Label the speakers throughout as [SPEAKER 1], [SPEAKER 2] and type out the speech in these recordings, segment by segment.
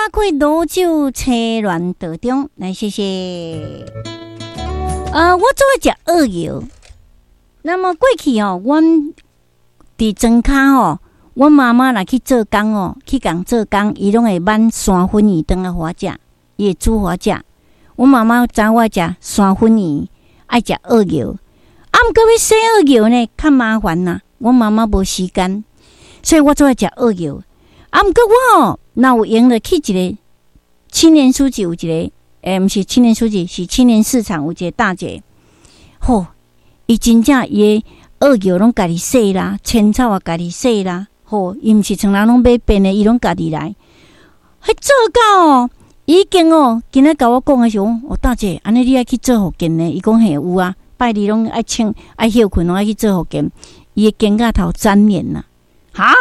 [SPEAKER 1] 馬開羅酒車亂道中，來謝謝。我做愛食蚵蟯。那麼過去哦，阮佇莊跤吼，阮媽媽若去做工哦，去共做工，伊攏會挽山粉圓轉來予我食，伊會煮予我食。阮媽媽知我愛食山粉圓，愛食蚵蟯。啊，毋過欲洗蚵蟯呢，較麻煩啦。阮媽媽無時間，所以我做愛食蚵蟯。啊，毋過我哦，若有閒就去一個青年書集有一個，毋是青年書集，是青年市場有一個大姐，吼，伊真正伊的蚵蟯攏家己洗啦，青草也家己洗啦，吼，伊毋是像人攏買便的，伊攏家己來。彼做到哦，已經哦，今仔共我講的時候，哦，大姐，按呢你愛去做復健呢？伊講嘿有啊，拜二攏愛請愛歇睏，攏愛去做復健。伊的肩胛頭粘連啦，哈？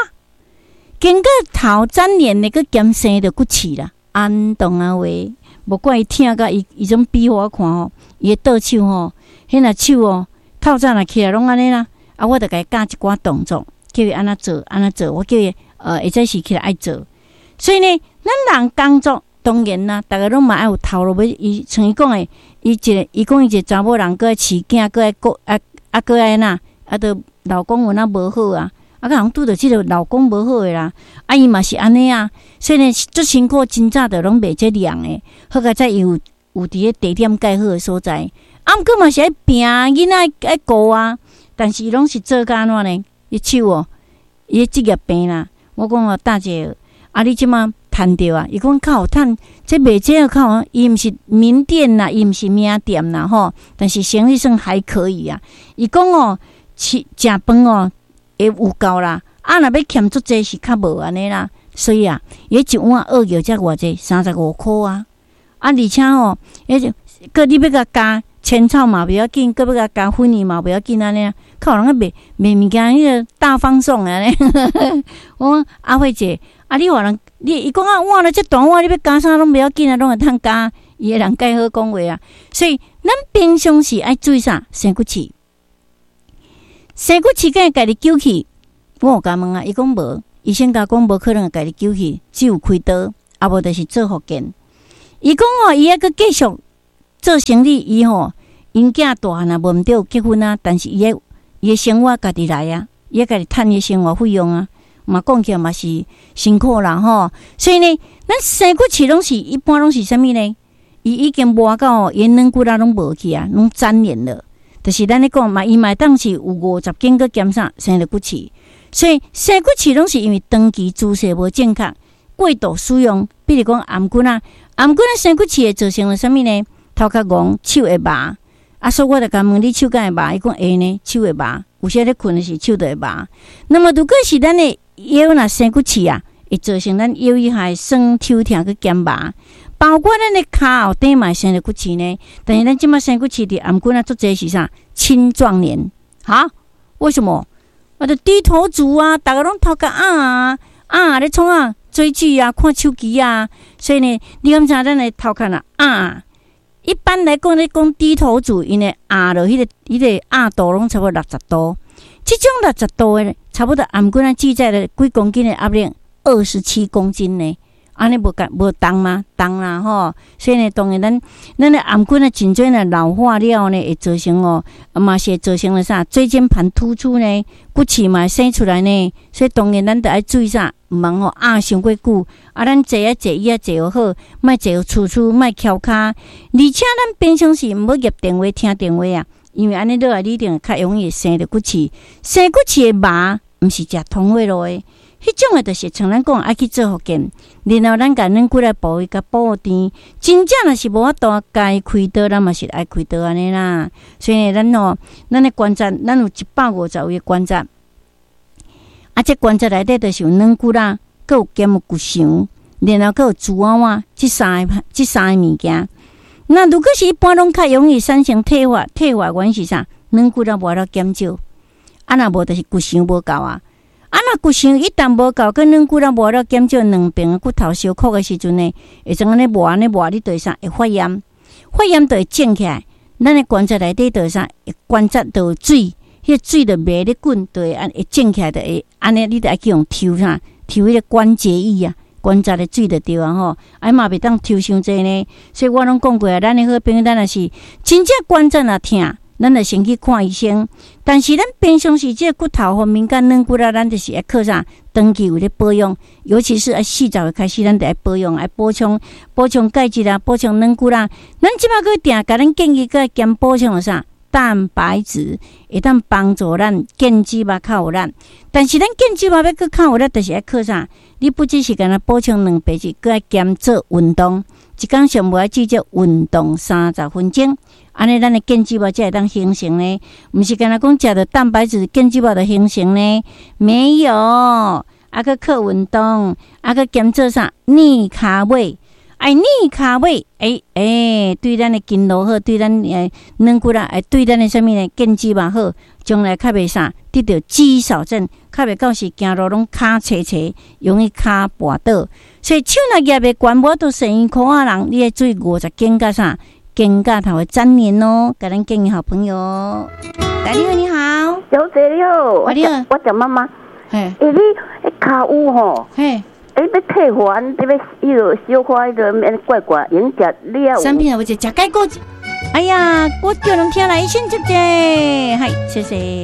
[SPEAKER 1] 肩胛頭粘連的，閣兼生著骨刺啦，安當啊話，無怪伊疼甲伊伊種比予我看吼，伊的倒手吼，彼若手哦，透早若起來攏按呢啦，啊，我著共伊教一寡動作，叫伊按怎做，按怎做，我叫伊會使時起來愛做。所以呢，咱人工作當然啦，逐个攏嘛愛有頭路欲，伊像伊講的，伊一个伊講伊一個查某人，閣愛飼囝，閣愛顧啊啊，閣愛按怎，啊，著老公有哪無好啊，啊，閣人拄著這个老公無好的啦，啊，伊嘛是按呢啊，所以呢，足辛苦，真早就攏袂這涼的，好佳哉伊有有佇咧地點蓋好的所在，啊，毋過嘛是愛拼，囡仔愛顧啊，但是伊攏是做甲按怎呢？伊手哦，伊的職業病啦。我講哦，大姐，啊，你這馬趁著啊？伊講較有趁，這賣這個較好，伊毋是名店啦，伊毋是名店啦，吼，但是生意算還可以啊。伊講哦，食食飯哦，會有夠啦，啊，若欲欠足濟是較無按呢啦。所以啊，伊一碗蚵蟯才偌濟，35箍啊。啊，而且吼，彼閣你欲共加青草嘛袂要緊，閣欲共加粉圓嘛袂要緊按呢，較有人咧賣賣物件，彼個大方送按呢。我講阿慧姐，啊，你予人，你伊講啊碗咧這大碗，你欲加啥攏袂要緊啊，攏會通加。伊的人介好講話啊，所以咱平常時愛注意啥？生骨刺，生骨刺敢會家己揪去？我有共問啊，伊講無，醫生共講無可能會家己揪去，只有開刀，啊無就是做復健。伊講哦，伊猶閣繼續做生意，伊吼𪜶囝大漢啊，無毋對結婚啊，但是伊的生活家己來啊，伊愛家己趁伊的生活費用啊，嘛講起來嘛是辛苦啦吼。所以呢，咱生骨刺攏是一般攏是啥物呢？伊已經磨到伊軟骨仔攏無去啊，攏粘連了。就是咱咧講嘛，伊嘛會當是有50斤閣兼啥生著骨刺，所以生骨刺攏是因為長期姿勢無正確，過度使用，比如講頷頸仔，頷頸仔生骨刺會造成了啥物呢？頭殼戇，手會麻。啊，所以我就共問你手敢會麻？伊講會呢，手會麻。有時咧睏的時手就會麻。那麼如果是咱的腰若生骨刺啊，會造成咱腰以下酸抽疼閣兼麻。包括咱的跤後底嘛會生著骨刺呢。但是咱這馬生骨刺佇頷頸仔足濟是啥？青壯年，哈？為什麼？啊，就低頭族啊，逐个攏頭殼仰啊，咧創啊？追劇啊，看手機啊，所以呢，你敢知咱的頭殼若仰？一般來講，咧講低頭族，𪜶的仰落彼個仰度攏差不多60度。這種六十度的，差不多頷頸仔記載了幾公斤的壓力？27公斤呢。按呢無共無重嗎？重啦吼。所以呢，當然咱的頷頸仔頸椎呢老化了呢，會造成哦，嘛是會造成了啥？椎間盤突出呢，骨刺嘛會生出來呢。所以當然咱著愛注意啥？毋通吼仰傷過久。啊，咱坐啊坐椅仔坐好，莫坐趨趨，莫翹跤。而且咱平常時毋好挹電話、聽電話啊，因為按呢落來，你一定較容易生著骨刺。生骨刺的麻，毋是食通血路的。彼種的，就是像咱講愛去做復健，然後咱共軟骨來部位共補甜。真正若是無法度該開刀，咱嘛是愛開刀按呢啦。所以咱吼，咱的關節，咱有150位的關節。啊，這關節內底就是有軟骨仔，閣有兼有骨骺，然後閣有珠仔碗，這三個物件。那如果是一般攏較容易產生退化，退化原因是啥？軟骨仔無法度減少，啊，若無就是骨骺無夠啊。啊，若骨骺一旦無夠，閣軟骨仔無法度減少，兩邊的骨頭相箍的時陣呢，會怎按呢磨按呢磨，你就會啥？會發炎，發炎就會腫起來。咱的關節內底就會啥？關節就有水，彼個水就袂咧滾，就會按會腫起來，就會按呢，你就愛去予抽啥？抽彼個關節液啊，觀察的水就對啊吼，啊嘛袂當抽傷濟呢。所以我攏講過啊，咱的好朋友，咱若是真正關節若疼，咱就先去看醫生。但是咱平常時這個骨頭方面佮軟骨啊，咱就是愛靠啥？長期有咧保養，尤其是愛40歲開始，咱就愛保養，愛補充補充鈣質啦，補充軟骨啦。咱這擺閣定共咱建議閣兼補充啥？蛋白質會當幫助咱健肌肉較有力。但是咱健肌肉欲閣較有力，就是愛靠啥？你不只是干焦補充蛋白質，閣愛兼做運動。一工上無愛至少運動30分鐘，按呢咱的健肌肉才會當形成呢。毋是干焦講食著蛋白質，健肌肉就形成呢？沒有，啊閣靠運動，啊閣兼做啥？練跤尾。愛練跤尾，欸欸，對咱的筋絡好，對咱軟骨啊，會對咱的啥物呢？健肌肉好，將來較袂啥得著肌少症，較袂到時行路攏跤斜斜，容易跤跋倒。所以手若舉袂懸，無法度踅圓箍仔人，你愛注意50肩佮啥？肩胛頭的粘連哦，共咱建議好朋友。來，你好，你好，
[SPEAKER 2] 小姐你好，
[SPEAKER 1] 你好，
[SPEAKER 2] 我蔣媽媽。
[SPEAKER 1] 嘿，
[SPEAKER 2] 欸，你彼跤趺吼？
[SPEAKER 1] 嘿。
[SPEAKER 2] 欸，欲退化，你欲彼个小可彼个免怪怪，用食你也有。
[SPEAKER 1] 產品啊，有一食解果。哎呀，我叫人聽來，先接者，嗨，謝謝。